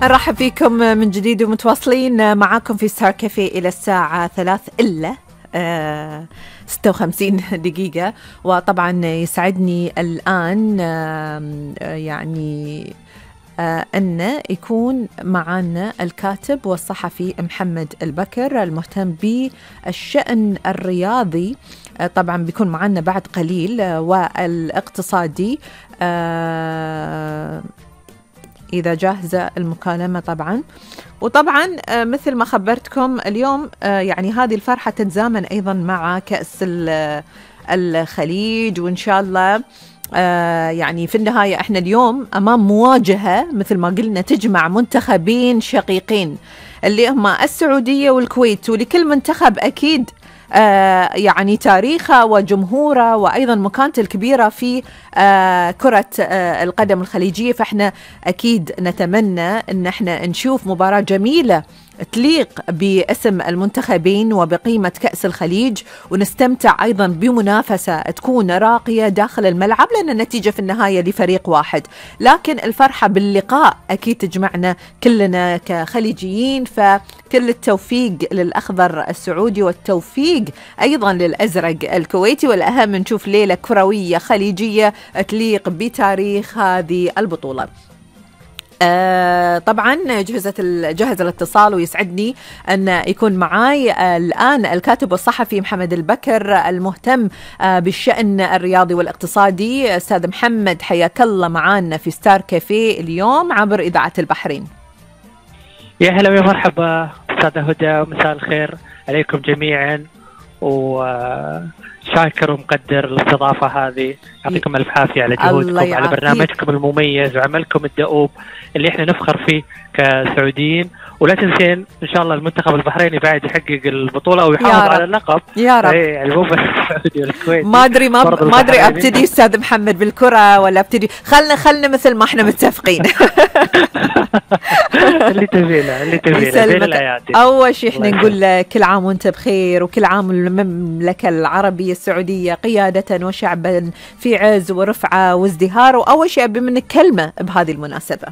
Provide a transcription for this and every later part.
نرحب فيكم من جديد ومتواصلين معاكم في ستار كافيه إلى الساعة 3 إلا 56 دقيقة. وطبعا يسعدني الآن يعني أن يكون معنا الكاتب والصحفي محمد البكر المهتم بالشأن الرياضي. طبعا بيكون معنا بعد قليل والاقتصادي إذا جاهزة المكالمة طبعا. وطبعا مثل ما خبرتكم اليوم يعني هذه الفرحة تتزامن أيضا مع كأس الخليج، وإن شاء الله يعني في النهاية احنا اليوم أمام مواجهة مثل ما قلنا تجمع منتخبين شقيقين اللي هما السعودية والكويت، ولكل منتخب أكيد يعني تاريخه وجمهوره وأيضا مكانته الكبيرة في كرة القدم الخليجية. فإحنا أكيد نتمنى أن احنا نشوف مباراة جميلة تليق باسم المنتخبين وبقيمة كأس الخليج، ونستمتع أيضا بمنافسة تكون راقية داخل الملعب، لأن النتيجة في النهاية لفريق واحد، لكن الفرحة باللقاء أكيد تجمعنا كلنا كخليجيين. فكل التوفيق للأخضر السعودي والتوفيق أيضا للأزرق الكويتي، والأهم نشوف ليلة كروية خليجية تليق بتاريخ هذه البطولة. طبعا جهز الاتصال، ويسعدني أن يكون معاي الآن الكاتب والصحفي محمد البكر المهتم بالشأن الرياضي والاقتصادي. أستاذ محمد حياك الله معانا في ستار كافيه اليوم عبر إذاعة البحرين. يا هلا ويا مرحبا أستاذة هدى، مساء الخير عليكم جميعا، وشاكر ومقدر الاستضافة هذه. يعطيكم ألف عافية على جهودكم، على برنامجكم المميز وعملكم الدؤوب اللي احنا نفخر فيه كسعوديين. ولا تنسين إن شاء الله المنتخب البحريني بعد يحقق البطولة ويحافظ على اللقب يا رب. يعني مو بس السعودي والكويت. ما أدري أبتدي أستاذ محمد بالكرة ولا أبتدي خلنا مثل ما احنا متفقين. اللي تبيله. أول شيء احنا نقول كل عام وانت بخير، وكل عام المملكة العربية السعودية قيادة وشعبا في عز ورفعة وازدهار. وأول شيء أبي منك كلمة بهذه المناسبة.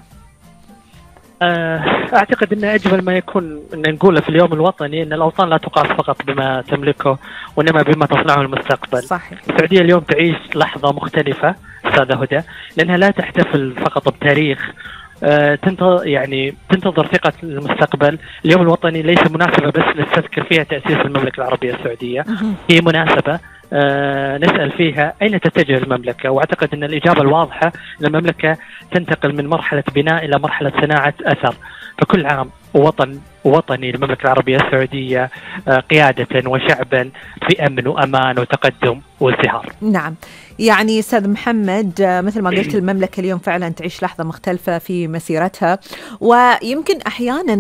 أعتقد أن أجمل ما يكون أن نقوله في اليوم الوطني أن الأوطان لا تقاس فقط بما تملكه وإنما بما تصنعه المستقبل. صحيح. السعودية اليوم تعيش لحظة مختلفة أستاذة هدى، لأنها لا تحتفل فقط بتاريخ، تنتظر ثقة المستقبل. اليوم الوطني ليس مناسبة بس نستذكر فيها تأسيس المملكة العربية السعودية، هي مناسبة نسأل فيها أين تتجه المملكة. وأعتقد أن الإجابة الواضحة أن المملكة تنتقل من مرحلة بناء إلى مرحلة صناعة أثر. فكل عام وطني المملكة العربية السعودية قيادة وشعبا في أمن وأمان وتقدم وازدهار. نعم، يعني أستاذ محمد مثل ما قلت المملكة اليوم فعلا تعيش لحظة مختلفة في مسيرتها، ويمكن أحيانا